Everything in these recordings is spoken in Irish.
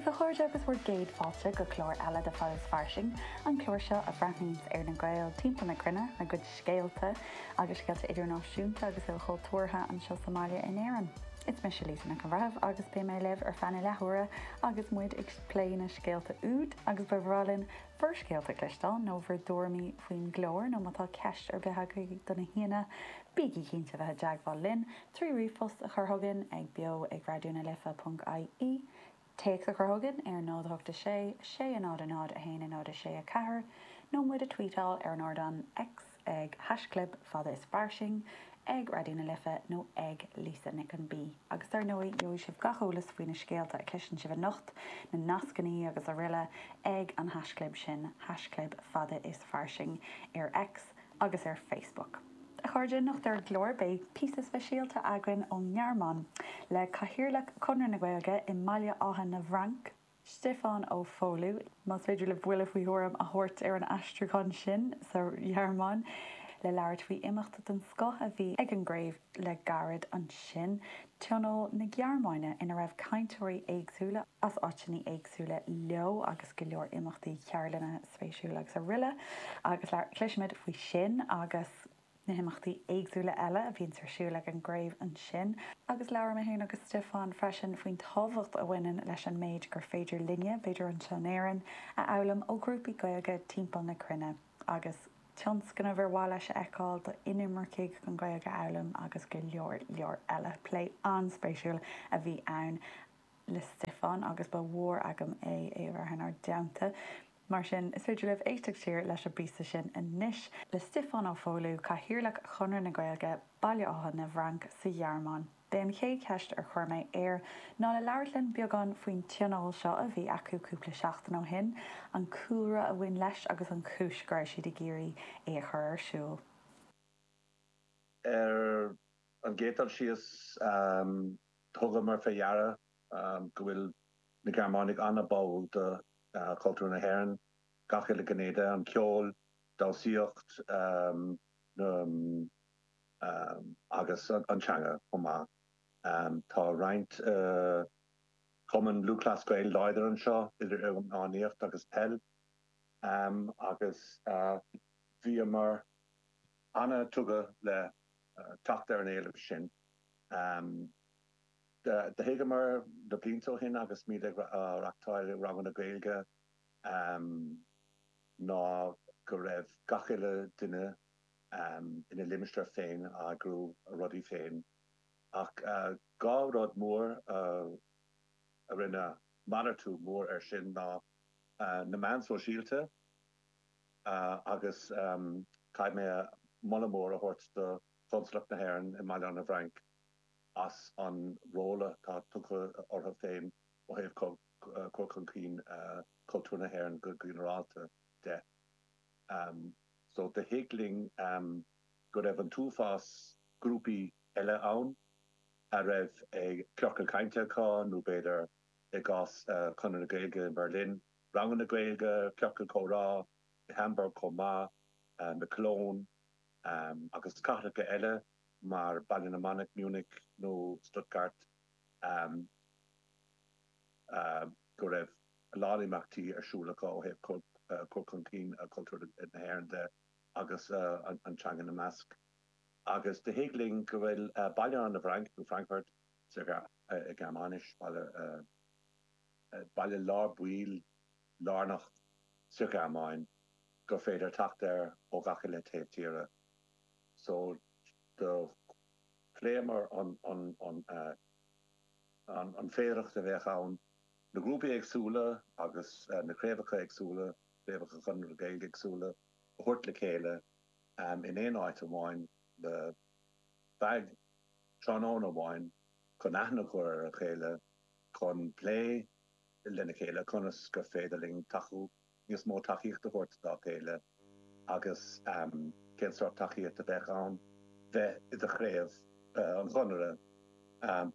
daoibh, a chairde, agus bhur gcéad fáilte go clár eile de Fada is Fairsing, an clár seo a bhreathnaíonns ar na Gaeil timpeall na cruinne, a gcuid scéalta agus scéalta idirnáisiúnta agus ilchultúrtha anseo sa mbaile in Éirinn. Is mise Lisa Nic an Bhreithimh agus beidh mé libh ar feadh na leathuaire agus muid ag plé na scéalta úd agus ba bhreá linn bhur scéalta a chloisteáil nó bhur dtuairimí faoin gclár nó má tá ceist ar bith agaibh do na haíonna, bígí cinnte bheith i dteagmháil linn trí ríomhphost a chur chugainn ag beo ag raidió na life ponc ie, téacs a chur chugainn ar 0 8 6 6 0 0 1 0 6 4 nó muid a tweetáil ar an ardán X ag haischlib fada is fairsing, ag Raidió na Life nó ag Lisa Nic an B. Agus dar ndóigh, gheobhaidh sibh gach eolas faoi na scéalta a chloiseann sibh anocht, na nascannaí agus araile ag an haischlib sin, haischlib fada is fairsing ar X agus ar Facebook. A chairde, anocht ar an gclár beidh píosa speisialta againn ón nGearmáin le Cathaoirleach Chonradh na Gaeilge i mBaile Átha na bhFranc, Stiofán Ó Foghlú, más féidir libh buille faoi thuairim a thabhairt ar an aistriúchán sin sa Ghearmáin, le labhairt faoi imeacht den scoth a bhí ag an gcraobh le gairid ansin, Tionól na Gearmáine, ina raibh cainteoirí éagsúla as áiteanna éagsúla leo agus go leor imeachtaí, ceardlanna spéisiúla agus araile agus cloisfimid faoi sin agus. na himeachtaí éagsúla eile a bhíonns ar siúl ag an gcraobh ansin. Agus labhair mé féin agus Stiofán freisin faoin tábhacht a bhaineann leis an méid gur féidir linne, b'fhéidir anseo in Éirinn, a fhoghlaim ó ghrúpaí Gaeilge timpeall na cruinne agus tionscnaimh ar mhaith leis a fheiceáil d'inimircigh chun Gaeilge a fhoghlaim agus go leor leor eile. Plé an-spéisiúil a bhí ann le Stiofán agus ba mhór agam é é a bheith inár dteannta. Mar sin, is féidir libh éisteacht siar leis an bpíosa sin anois le Stiofán Ó Foghlú, Cathaoirleach Chonradh na Gaeilge, Baile Átha na bhFranc sa Ghearmáin. B'é an chéad cheist ar chuir mé air ná le labhairt linn beagán faoin tionól seo a bhí acu cúpla seachtain ó shin, an cúlra a bhain leis agus an chúis go raibh siad ag iarraidh é a chur ar siúl. Ar an gcéad dul síos, thugamar fé dheara go bhfuil na Gearmánaigh an-bháúil do chultúr na hÉireann, gach uile ghné de, an ceol, damhsaíocht agus an teanga chomh maith. Tá roinnt cumann Lúthchleas Gael láidir anseo, idir iománaíocht agus peil, agus bhíomar an-tugtha le teacht ar an éileamh sin. Do thuigeamar na blianta ó shin agus muid ag reachtáil ranganna Gaeilge ná go raibh gach uile duine ina limistéar féin ag eagrú a rudaí féin ach dhá rud mór a rinne malartú mór air sin ná na meáin sóisialta agus caithfidh mé moladh mór a thabhairt do Chonsalacht na hÉireann i mBaile Átha na bhFrainc as an ról atá tugtha orthu féin ó thaobh cur chun cinn cultúr na hÉireann go ginearálta de. So do thuig linn go raibh an t-uafás grúpaí eile ann a raibh ciorcal cainte acu nó b'fhéidir i gcás Chonradh na Gaeilge i mBerlin, ranganna Gaeilge, ciorcal comhrá i Hamburg chomh maith, i Cologne agus cathracha eile. mar Baile na Manach, Munich nó Stuttgart, go raibh a lán imeachtaí ar siúl acu ó thaobh cur chun cinn cultúr na hÉireann de agus an teanga ina measc. Agus do thuig linn go bhfuil Baile Átha na bhFranc, nó Frankfurt sa Ghearmáinis, baile lár baill lárnach sa Ghearmáin, gur féidir teacht air ó gach uile taobh tíre. So do phléamar an an féidearthacht a bheadh ann na grúpaí éagsúla agus na craobhacha éagsúla, craobhacha Chonradh na Gaeilge éagsúla, a thabhairt le chéile in aon áit amháin le feadh tráthnóna amháin chun aithne a chur ar a chéile, chun plé lena chéile conas gur féidir linn tacú níos mó tacaíocht a thabhairt dá chéile agus cén sórt tacaíocht a bheadh ann bheith i do chraobh an Chonartha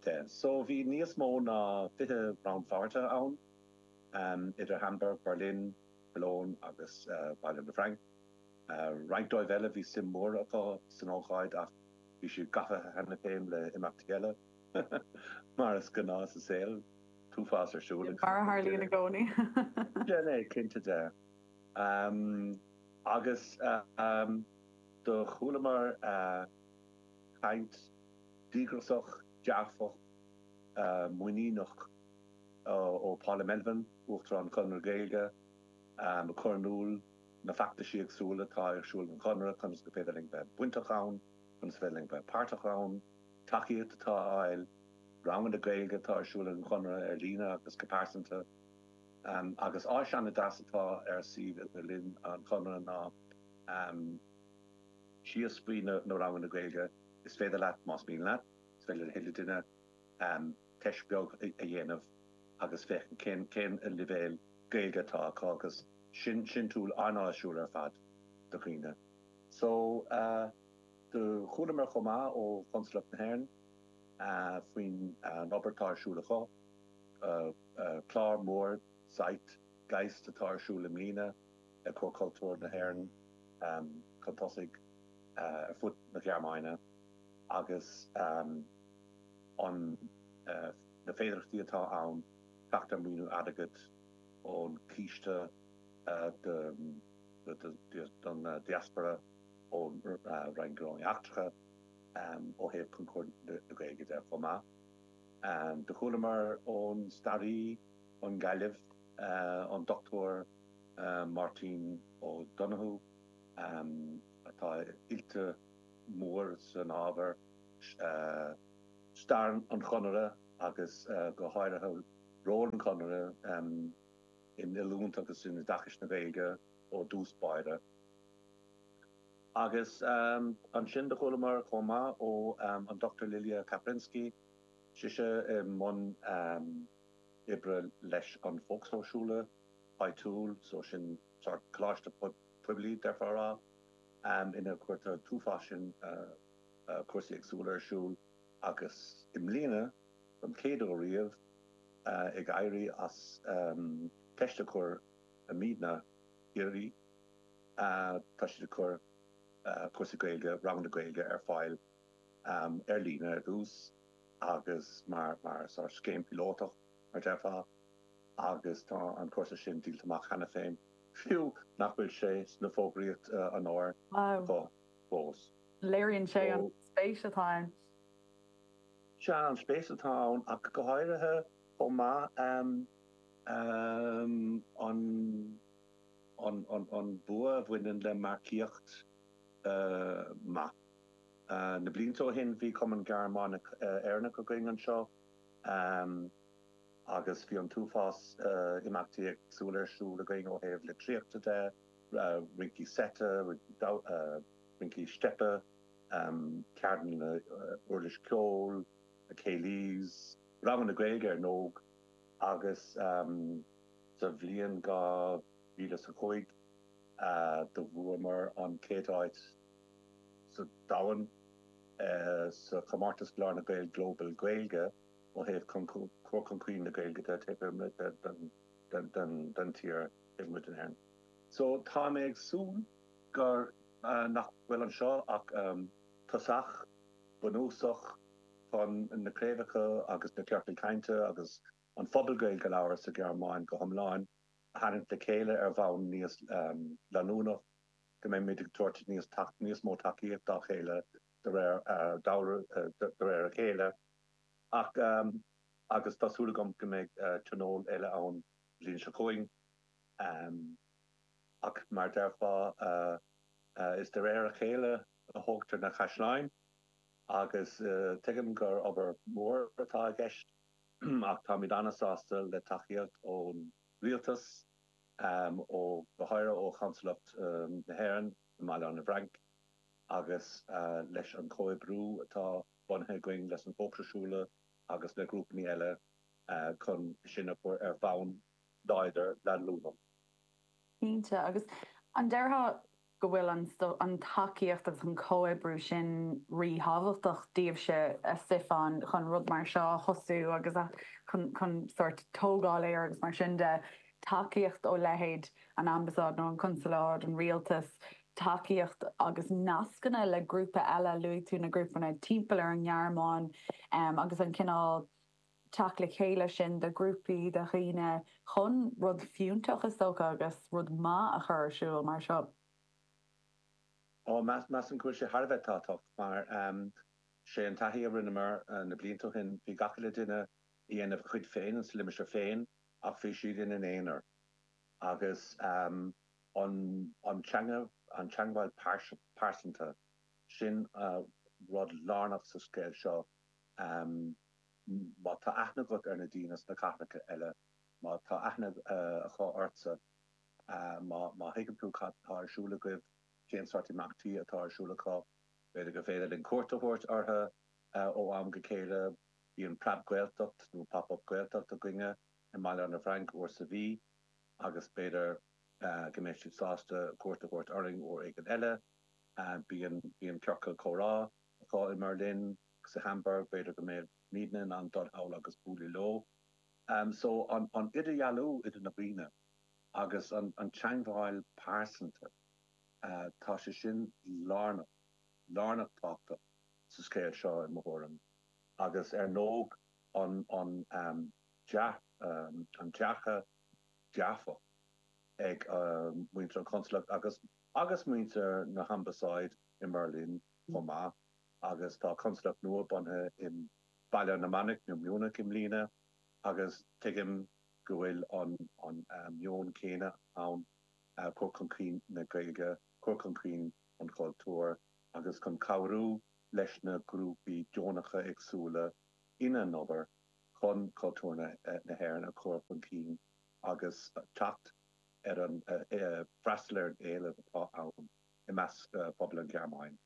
de. So bhí níos mó ná 20 rannpháirtithe ann idir Hamburg, Berlin, Cologne agus Baile na bhFranc. Roinnt dóibh eile bhí suim mhór acu san ócáid ach bhí siad gafa cheana féin le imeachtaí eile, mar is gnáth sa saol. t-uafás ar siúl ag. Mar a tharlaíonn i gcónaí. Sin é, cinnte de. Agus do chualamar caint díograiseach, dearfach, muiníneach ó Paula Melvin, Uachtarán Chonradh na Gaeilge, ag cur in iúl na feachtaisí éagsúla atá ar siúl ag an Chonradh, conas gur féidir linn bheith bainteach ann, conas is féidir linn bheith páirteach ann, tacaíocht atá á fháil, ranganna Gaeilge atá ar siúl ag an Chonradh ar líne agus go pearsanta. Agus áis an-deas atá ar suíomh idirlín an Chonradh ná síos faoi na ranganna Gaeilge, is féidir leat, más mian leat, is féidir le chuile duine teist beag a dhéanamh agus féachaint cén cén leibhéal Gaeilge atá acu agus sin sin tool an-áisiúil ar fad do dhaoine. So do chualamar chomh maith ó Chonsalacht na hÉireann faoin obair atá ar siúl acu, clár mór Zeit Geist atá ar siúl i mbliana ag cur cultúr na hÉireann chun tosaigh ar fud na Gearmáine agus an na féidearthachtaí atá ann teacht ar maoiniú airgid ón Chiste don Diaspora ón Roinn Gnóthaí Eachtracha ó thaobh chun cur na Gaeilge de chomh maith. Do chualamar ón staraí ón nGaillimh, an Dr Máirtín Ó Donnchú, atá oilte mór san ábhar, stair an Chonartha agus go háirithe ról an Chonartha in oiliúint agus in oideachas na Gaeilge ó dtús báire. Agus ansin do chualamar chomh maith ó an Dr Lilia Kaplinsky, sise i mbun oibre leis an Volkshochschule áitiúil, so sin sórt coláiste poiblí déarfá a rá, ina gcuirtear an t-uafás sin cúrsaí éagsúla ar siúl agus i mbliana, don chéad uair riamh, ag éirí as ceist a chur i Mídna Chiarraí. Tá siad ag cur cúrsaí Gaeilge, ranganna Gaeilge ar fáil ar líne ar dtús agus mar sórt scéim píolótach, mar déarfá, agus tá an cúrsa sin díolta amach cheana féin, fiú nach bhfuil sé sna fógraíocht an áir acu fós. Léiríonn sé an spéis atá ann. Sea, an spéis atá ann ach go háirithe chomh maith an an bua a bhaineann le marcaíocht maith. Na blianta ó shin bhí Cumann Gearmánach Éireannach againn anseo agus bhí an t-uafás imeachtaí éagsúla ar siúl againn ó thaobh litríochta de, rincí seite, rincí steipe, ceardlanna uirlis ceoil, céilís, ranganna Gaeilge ar ndóigh agus sa bhliain 2005 do bhuamar an chéad áit sa domhan sa chomórtas Glór na nGael Global Gaeilge ó thaobh cur chun cinn na Gaeilge de taobh amuigh den tír, taobh amuigh den Éirinn. So tá mé ag súil gur nach bhfuil anseo ach tosach bunúsach chun na craobhacha agus na ciorcail cainte agus an phobal Gaeilge a labhairt sa Ghearmáin go hiomlán a tharraingt le chéile ar bhonn níos leanúnach, go mbeimid ag tabhairt níos níos mó tacaíocht dá chéile de réir de réir a chéile. Ach agus tá súil agam go mbeidh tionól eile ann an bhliain seo chugainn. Ach mar déarfá, is de réir a chéile a thógtar na caisleáin agus tuigim gur obair mhór atá i gceist. Ach táimid an-sásta le tacaíocht ón rialtas, ó go háirithe ó Chonsalacht na hÉireann i mBaile Átha na bhFrainc agus leis an chomhoibriú atá bunaithe againn leis an Volkshochschule agus le grúpanna eile chun sin a chur ar bhonn láidir leanúnach. Cinnte. Agus an déarfá go bhfuil an tacaíocht agus an comhoibriú sin ríthábhachtach daoibhse, a Stiofáin, chun rud mar seo a thosú agus chun chun sórt tógáil air agus mar sin de. Tacaíocht ó leithéid an Ambasáid nó an Consalát, an rialtas, tacaíocht agus nascanna le grúpa eile, luaigh tú na grúpanna timpeall ar an nGearmáin agus an cineál. teacht le chéile sin de ghrúpaí de dhaoine chun rud fiúntach is dócha agus rud maith a chur ar siúl mar seo? Ó, measaim go bhfuil sé thar a bheith tábhachtach mar sé an taithí a rinneamar na blianta ó shin, bhí gach uile duine ag dhéanamh a chuid féin sa limistéar féin ach bhí siad ina n-aonar agus an teanga, an teangmháil pearsanta, sin rud lárnach sa scéal seo. Má tá aithne agat ar na daoine sna cathracha eile, má tá aithne acu ortsa, má thuigeann tú cad tá ar siúl agaibh, cén sórt imeachtaí atá ar siúl acu, b'fhéidir gur féidir linn cuairt a thabhairt orthu ó am go chéile. Bíonn Preab Gaeltacht nó Pop Up Gaeltacht againne i mBaile na bhFrainc uair sa mhí agus b'fhéidir go mbeidh siad sásta cuairt a thabhairt orainn uair éigin eile. Bíonn bíonn ciorcal comhrá acu i mBerlin agus i Hamburg, b'fhéidir go mbeimidne in ann dul thall agus bualadh leo. So an idirdhealú idir na daoine agus an teangmháil pearsanta, tá sé sin lárnach, lárnach tábhachtach sa scéal seo i mo thuairim. Agus ar ndóigh an an dearcadh dearfach ag muintir an chonsalacht agus agus muintir na hambasáid i mBerlin chomh maith agus tá consalacht nua bunaithe i Baile na Manach nó Munich i mbliana agus tuigim go bhfuil an an meon céanna ann, cur chun cinn na Gaeilge, cur chun cinn an chultúir agus chun cabhrú leis na grúpaí deonacha éagsúla ina n-obair chun cultúr na hÉireann a chur chun cinn agus teacht ar an, freastal ar an éileamh atá ann i measc phobal an Ghearmáin.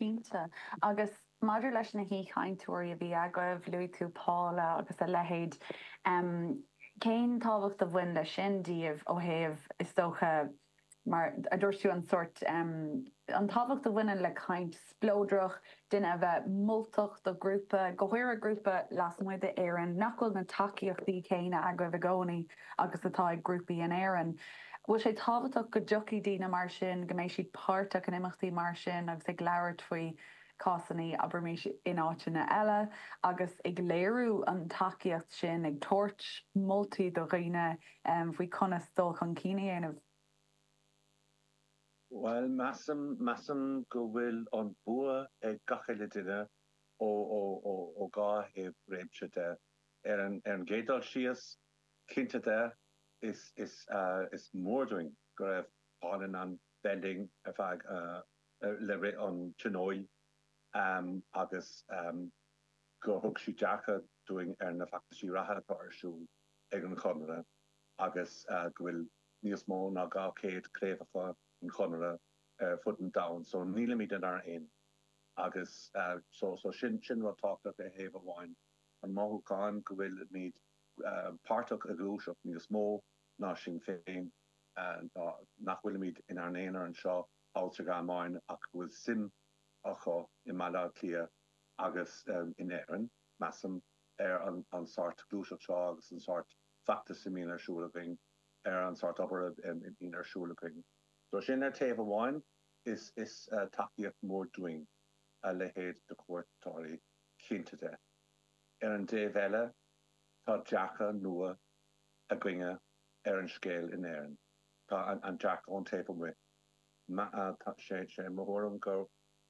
Cinnte. Agus maidir leis na haoichainteoirí a bhí agaibh, luaigh tú Paula agus a leithéid, cén tábhacht a bhain leis sin daoibh ó thaobh, is dócha, mar a dúirt tú, an sórt, an tábhacht a bhaineann le caint spleodrach, duine a bheith moltach do ghrúpa, go háirithe grúpa lasmuigh d'Éirinn, nach bhfuil na tacaíochtaí céanna agaibh i gcónaí agus atá ag grúpaí in Éirinn. Bhfuil sé tábhachtach go dtiocfaidh daoine mar sin, go mbeidh siad páirteach in imeachtaí mar sin agus ag labhairt faoi cásanna, abraimis, in áiteanna eile agus ag léiriú an tacaíocht sin, ag tabhairt moltaí do dhaoine faoi conas dul chun cinn a dhéanamh? Bhuel, measaim, measaim go bhfuil an bua ag gach uile duine ó, ó, ó, ó dhá thaobh réimse de. Ar an, ar an gcéad dul síos, cinnte de, is, is, is mór dúinn go raibh Paula in ann bheith linn ar feadh, le rith an tionóil agus gur thug sí dearcadh dúinn ar na feachtaisí reatha atá ar siúl ag an Chonradh agus go bhfuil níos mó ná 200 craobhacha an Chonartha ar fud an domhain so nílimid inár n-aonar agus so so sin sin rud tábhachtach ar thaobh amháin an mothúchán go bhfuilimid páirteach i ngluaiseacht níos mó ná sinn féin nach bhfuilimid inár n-aonar anseo thall sa Ghearmáin ach go bhfuil suim acu i mBaile Átha Cliath agus in Éirinn, measaim, ar an sórt gluaiseacht seo agus an sórt feachtas a mbíonn ar siúl againn, ar an sórt obair a bhíonn ar siúl againn. So sin ar taobh amháin, is tacaíocht mhór dúinn a leithéid de chuairteoirí, cinnte de. Ar an dtaobh eile, tá dearcadh nua againne ar an scéal in Éirinn. Tá an dearcadh ón taobh amuigh. Tá sé sé mo thuairim gur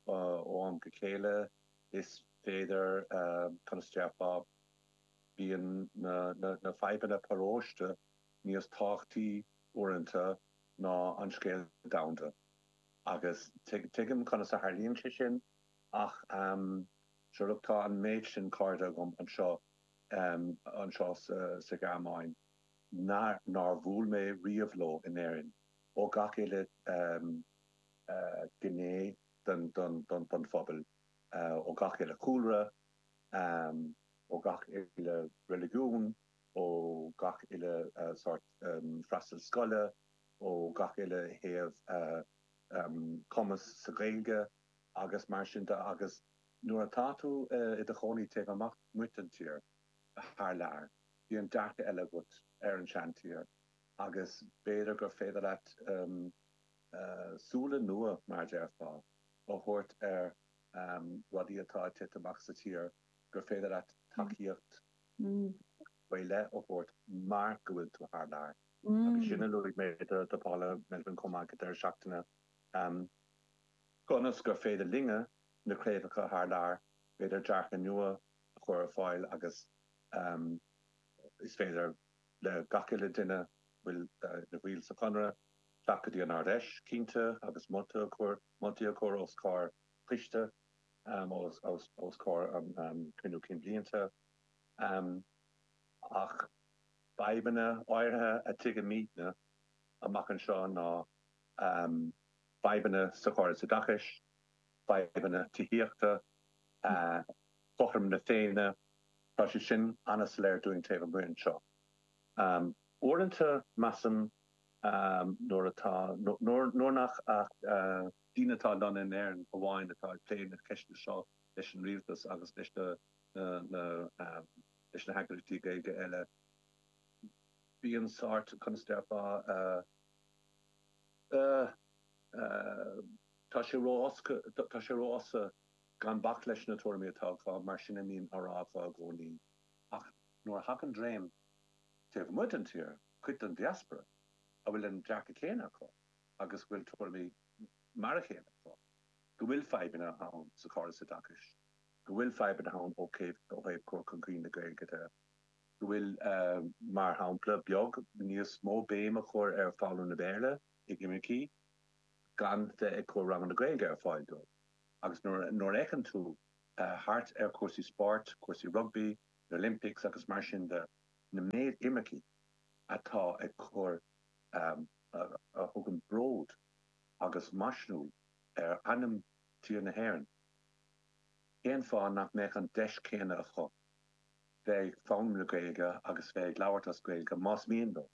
ó am go chéile is féidir, conas a déarfá, bíonn na fadhbanna paróiste níos tábhachtaí uaireanta ná an scéal domhanda. Agus tuigim conas a tharlaíonn sé sin ach sure look tá an méid sin cairde agam anseo, anseo sa Ghearmáin nár bhuail mé riamh leo in Éirinn, ó gach uile gné den phobal, ó gach uile chúlra, ó gach uile reiligiún, ó gach uile sórt freastal scoile, ó gach uile thaobh cumas sa Ghaeilge agus mar sin de agus nuair atá tú i do chónaí taobh amach amuigh den tír, thar lear, bíonn dearcadh eile agat ar an seantír agus b'fhéidir gur féidir leat súile nua, mar a déarfá, a thabhairt ar rudaí atá ag titim amach sa tír, gur féidir leat. Tacaíocht faoi leith a thabhairt mar go bhfuil tú thar lear. Agus sin a luaigh mé do Paula Melvin chomh maith ag an deireadh seachtaine. Conas gur féidir linne, na craobhacha thar lear, b'fhéidir dearcadh nua a chur ar fáil agus is féidir le gach uile duine a bhfuil ina bhaill sa Chonradh teacht go dtí an Ard-Fheis, cinnte, agus moltaí a chur, moltaí a chur os comhair choiste, os comhair an Cruinniú Cinn Blianta. Ach fadhbanna áirithe a tuigimidne amach anseo ná fadhbanna sa chóras oideachais, fadhbanna tithíochta, cothrom na Féinne, tá sé sin an-soiléir dúinn taobh amuigh anseo. Uaireanta, measaim, nuair atá, nuair nach ach daoine atá lonnaithe in Éirinn amháin atá ag plé na ceisteanna seo leis an rialtas agus leis na leis na heagraíochtaí Gaeilge eile, bíonn sórt, conas a déarfá, tá sé ró-tá sé ró-fhusa gan bac leis na tuairimí atá acu, mar sin a mbíonn á rá acu i gcónaí. Ach nuair a thagann dream taobh amuigh den tír, cuid den diaspora, a bhfuil an dearcadh céanna acu agus go bhfuil tuairimí mar a chéile acu, go bhfuil fadhbanna ann sa chóras oideachais, go bhfuil fadhbanna ann ó thaobh cur chun cinn na Gaeilge de, go bhfuil, mar shampla beag, níos mó béim a chur ar foghlaim na Béarla ag imircigh gan bheith ag cur ranganna Gaeilge ar fáil dóibh. Agus nuair a fheiceann tú thart ar chúrsaí spóirt, cúrsaí rugbaí, na Olympics agus mar sin de, na méid imircigh atá ag cur, a thugann bród agus maisniúil ar ainm tír na hÉireann, cén fáth nach mbeadh an deis céanna acu bheith ag foghlaim na Gaeilge agus bheith ag labhairt as Gaeilge más mian leo?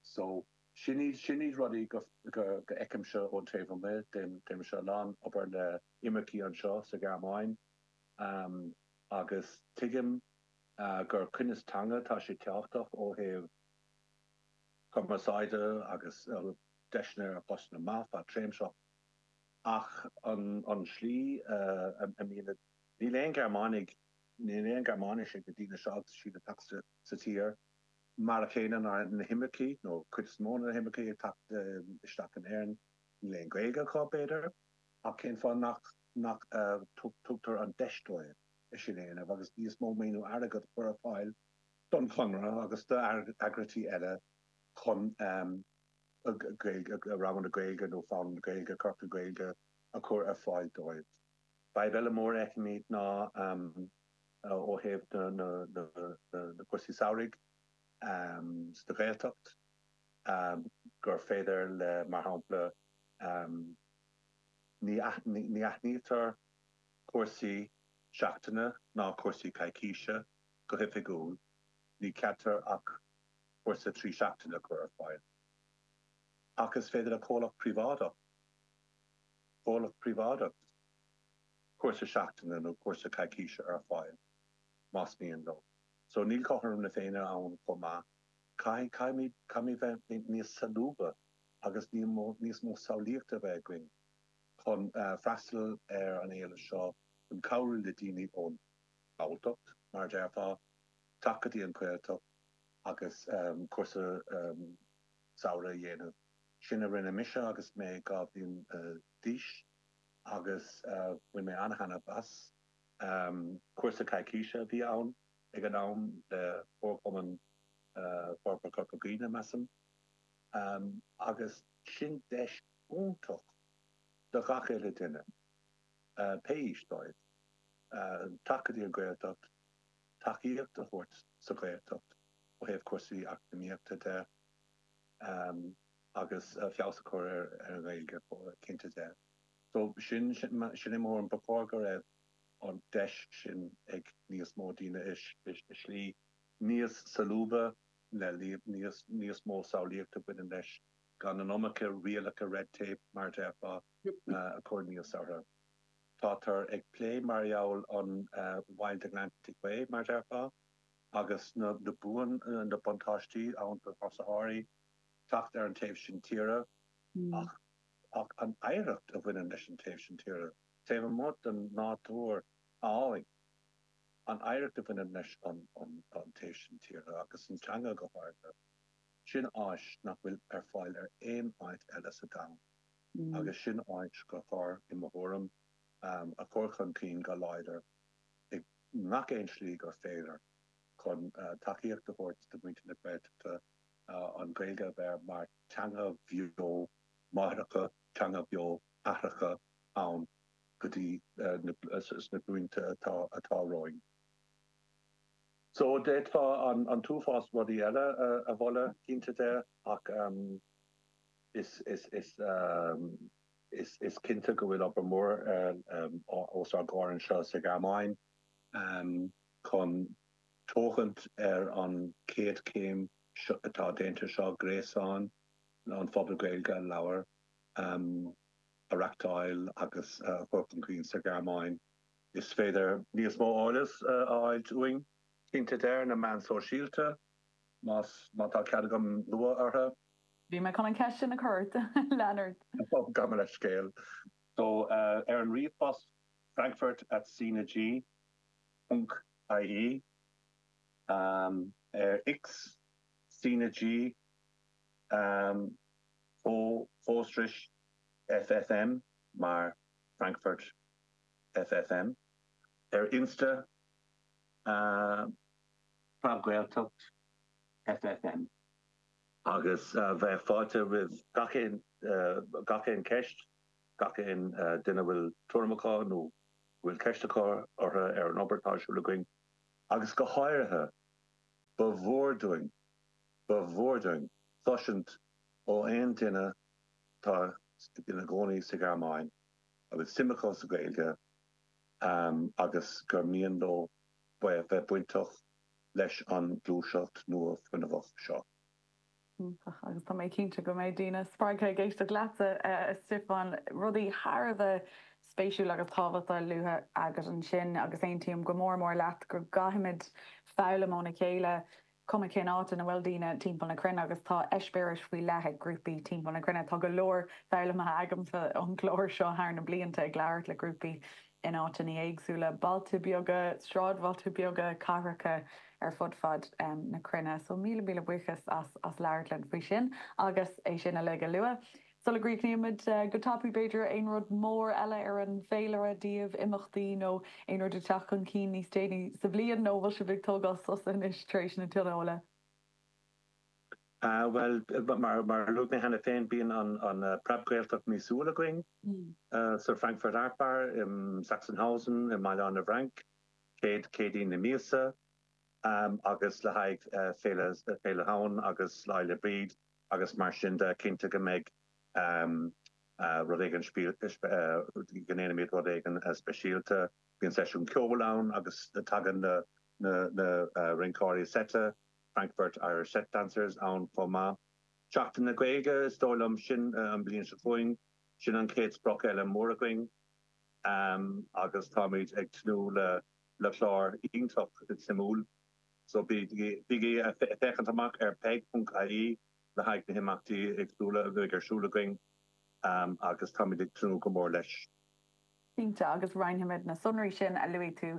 So, sin iad, sin iad rudaí go, go, go fheicimse ón taobh amuigh. Déanaimse a lán obair le imircigh anseo sa Ghearmáin agus tuigim gur cruinneas teanga, tá sé tábhachtach ó thaobh cumarsáide agus deiseanna ar phostanna maith fadtréimhseach ach an, an slí a mbíonn, níl aon Ghearmánaigh, níl aon Ghearmáinis ag na daoine seo agus siad ag teacht sa tír. Mar a chéanna ná na himircigh, nó cuid is mó de na himircigh ag teacht isteach in Éirinn, níl aon Ghaeilge acu, b'fhéidir, ach cén fáth nach nach tugtar an deis dóibh é sin a dhéanamh agus níos mó maoiniú airgid a chur ar fáil don Chonradh agus d'eagraíochtaí eile chun Gaeilge, ranganna Gaeilge nó foghlaim na Gaeilge, ciorcail Ghaeilge a chur ar fáil dóibh. Fadhb eile mór a fheicimid ná ó thaobh na cúrsaí samhraidh sa Ghaeltacht, gur féidir le, mar shampla, ní aithnítear cúrsaí seachtaine ná cúrsaí coicíse go hoifigiúil, ní ceadaítear ach cúrsa 3 seachtaine a chur ar fáil. Ach is féidir le comhlacht príobháideach, comhlacht príobháideach, cúrsa seachtaine nó cúrsa coicíse ar fáil más mian leo. So níl cothrom na Féinne ann chomh maith. Caithfidh, caithfimid, caithfimid bheith níos solúbtha agus níos mó samhlaíochta a bheith againn chun freastal ar an éileamh seo, chun cabhrú le daoine ón nGalltacht, mar a déarfá, teacht go dtí an Ghaeltacht agus cúrsa samhraidh a dhéanamh. Sin a rinne mise agus mé 12 bhliain d'aois. agus bhain mé an-thaitneamh as. Cúrsa coicíse a bhí ann ag an am le Comharchumann Forbartha Chorca Dhuibhne, measaim, agus sin deis iontach do ghach uile duine, pé aois dóibh, teacht go dtí an Ghaeltacht, tacaíocht a thabhairt sa Ghaeltacht ó thaobh cúrsaí eacnamaíochta de agus feabhas a chur ar an nGaeilge, cinnte de. So sin, sin é mo thuairim, ba chóir go raibh an deis sin ag níos mó daoine i slí níos solúbtha, le níos, níos mó samhlaíochta a bhaineann leis, gan an iomarca rialacha red tape, mar a déarfá, a chur aníos orthu. Tátar ag plé mar gheall an Wild Atlantic Way, mar a déarfá, agus na, na buan, na buntáistí ann do thurasóirí teacht ar an taobh sin tíre, ach Ach an oidhreacht a bhaineann leis an taobh sin tíre, taobh amuigh den nádúr álainn. An oidhreacht a bhaineann leis an taobh sin tíre, agus an teanga go háirithe, sin áis nach bhfuil ar fáil ar aon áit eile sa domhan, agus sin áis gur chóir, i mo thuairim, a chur chun cinn go láidir i ngach aon slí gur féidir chun tacaíocht a thabhairt do mhuintir na Gaeltachta an Ghaeilge a bheith mar teanga bheo máithreacha, teanga bheo aithreacha ann go dtí sna glúinte atá romhainn. So d'fhéadfá an t-uafás rudaí eile a mholadh, cinnte de, ach is is cinnte go bhfuil obair mhór os ár gcomhair anseo sa Ghearmáin chun tógaint ar an chéad chéim atá déanta seo, gréasán an phobail Gaeilge a labhair. a reachtáil agus a chur chun cinn sa Ghearmáin. Is féidir níos mó eolais a fháilt uainn, cinnte de, ar na meáin sóisialta, más, má tá cead agam lua orthu. Bhí mé chun an cheist sin a chur ort, lean ort. Ó, gabh mo leithscéal. So, ar an ríomhphost frankfurt at cnag ponc ie, ar X, cnag, fo-Strich FFM mar Frankfurt FFM. Ar Insta, Preab-Ghaeltacht FFM. Agus bheadh fáilte roimh gach aon gach aon cheist, gach aon duine a bhfuil tuairim acu nó a bhfuil ceist acu orthu ar an obair atá ar siúl againn. Agus go háirithe, ba mhór dúinn, ba mhór dúinn cloisint ó aon duine atá ina gcónaí sa Ghearmáin a bhfuil suim acu sa Ghaeilge agus gur mian leo bheith bainteach leis an ghluaiseacht nua fuinneamhach seo. Iontach, agus tá mé cinnte go mbeidh daoine spreagtha ag éisteacht leatsa, a Stiofáin. Rudaí thar a bheith spéisiúil agus tábhachtach luaite agat ansin agus aontaím go mór mór leat go gcaithfimid foghlaim óna chéile cuma cén áit ina bhfuil daoine timpeall na cruinne agus tá eispéiris faoi leith ag grúpaí timpeall na cruinne. Tá go leor foghlamtha agamsa ón gclár seo thar na blianta ag labhairt le grúpaí in áiteanna éagsúla, bailte beaga, sráidbhailte beaga, cathracha ar fud fad na cruinne. So míle míle buíochas as as labhairt linn faoi sin agus é sin uilig a lua. Sula gcríochnaímid go tapaidh, b'fhéidir, aon rud mór eile ar an bhféilire daoibh, imeachtaí nó aon rud ag teacht chun cinn níos déanaí sa bhliain, nó bhfuil sibh ag tógáil sosa anois tar éis na tionóla? Bhuel, mar a luaigh mé cheana féin, bíonn an Preab-Ghaeltacht míosúil againn sa Frankfurt Art Bar i Sachsenhausen i mBaile Átha na bhFrainc, chéad Chéadaoin na míosa, agus le haghaidh Féile Shamhain agus Lá 'le Bríd, agus mar sin de, cinnte go mbeidh rud éigin, go ndéanfaimid rud éigin speisialta. Bíonn seisiún ceoil ann agus tagann na rinceoirí seite, Frankfurt Irish Set Dancers, ann chomh maith. Seachtain na Gaeilge, is dóigh liom, sin an bhliain seo chugainn, sin an chéad sprioc eile mór againn agus táimid ag tnúth le clár iontach suimiúil. So bígí ag féachaint amach ar peig.ie le haghaidh na himeachtaí éagsúla a bheidh ar siúl againn agus táimid ag tnúth go mór leis. Cinnte, agus roinnfimid na sonraí sin a luaigh tú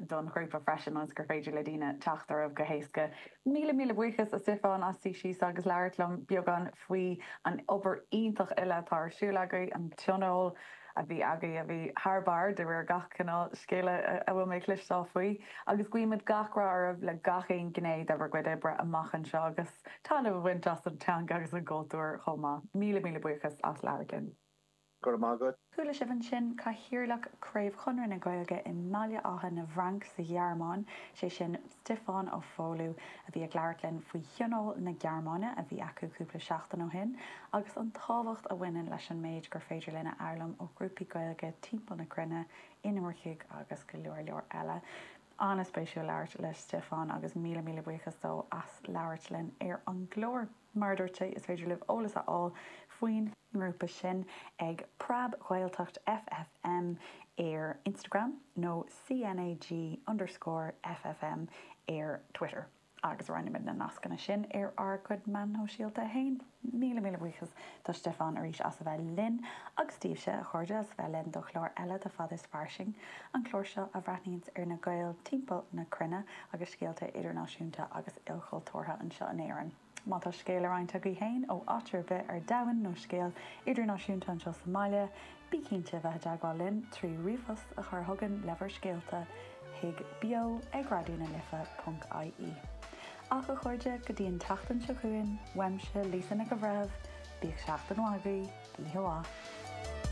don ghrúpa freisin ionas gur féidir le daoine teacht oraibh go héasca. Míle míle buíochas a Stiofáin as suí síos agus labhairt liom beagán faoi an obair iontach uile atá ar siúl agaibh, an tionól, a bhí agaibh a bhí thar barr de réir gach cineál scéala a bhfuil mé ag cloisteáil faoi agus guímid gach rath oraibh le gach aon ghné de bhur gcuid oibre amach anseo agus taitneamh a bhaint as an teanga agus an gcultúr chomh maith. Míle míle buíochas as labhairt linn. Go raibh maith agat. Chuala sibh ansin Cathaoirleach Craobh Chonradh na Gaeilge i mBaile Átha na bhFranc sa Ghearmáin, sé sin Stiofán Ó Foghlú, a bhí ag labhairt linn faoi Thionól na Gearmáine a bhí acu cúpla seachtain ó shin agus an tábhacht a bhaineann leis an méid gur féidir linn a fhoghlaim ó ghrúpaí Gaeilge timpeall na cruinne, inimircigh agus go leor leor eile. An-spéisiúil labhairt le Stiofán agus míle míle buíochas dó as labhairt linn ar an gclár. Mar a dúirt sé, is féidir libh eolas a fháil faoin ngrúpa sin ag Preab-Ghaeltacht FFM ar Instagram nó CNAG underscore FFM ar Twitter. Agus roinnfimid na nascanna sin ar ár gcuid meán shóisialta féin. Míle míle buíochas do Stiofán arís as a bheith linn, agus daoibhse, a chairde, as a bheith linn do chlár eile de Fada is Fairsing, an clár seo a bhreathnaíonns ar na Gaeil timpeall na cruinne agus scéalta idirnáisiúnta agus ilchultúrtha anseo in Éirinn. Má tá scéal le roinnt agaibh féin ó áit ar bith ar domhan nó scéal idirnáisiúnta anseo sa mbaile, bí cinnte a bheith i dteagmháil linn trí ríomhphost a chur chugainn le bhur scéalta chuig beo ag raidió na life ponc ie. Ach a chairde, go dtí an tseachtain seo chugainn, uaimse, Lisa Nic an Bhreithimh, bíodh seachtain mhaith agaibh, oíche mhaith.